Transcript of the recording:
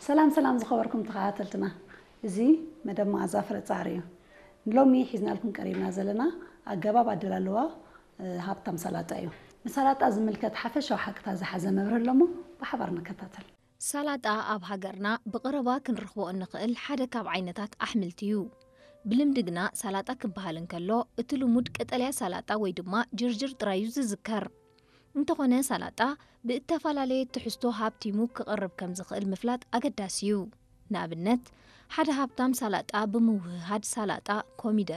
ሰላም ሰላም ዝኸበርኩም ተኸታተልትና፣ እዚ መደብ መኣዛ ፍረ ጻዕሪ እዩ። ንሎሚ ሒዝናልኩም ቀሪብና ዘለና ኣገባብ ኣደላልዋ፣ እ፣ ሃብታም ሰላጣ እዩ። ንሰላጣ ዝምልከት ሓፈሻዊ ሓቅታት ዝሓዘ መብርሂ ኣሎ እሞ ብሓባር ንከታተል። ሰላጣ ኣብ ሃገርና ብቐረባ ክንረኽቦ እንኽእል ሓደ ካብ ዓይነታት ኣሕምልቲ እዩ። ብልምዲ ግና ሰላጣ ክበሃል እንከሎ፣ እቲ ልሙድ ቀጠልያ ሰላጣ ወይ ድማ ጅርጅር ጥራይ እዩ ዝዝከር። እንተኾነ፣ ሰላጣ ብእተፈላለየ ትሕዝቶ ሃብቲሙ ክቐርብ ከም ዝኽእል ምፍላጥ ኣገዳሲ እዩ። ንኣብነት፣ ሓደ ሃብታም ሰላጣ ብምውህሃድ ሰላጣ፣ ኮሚደረ፣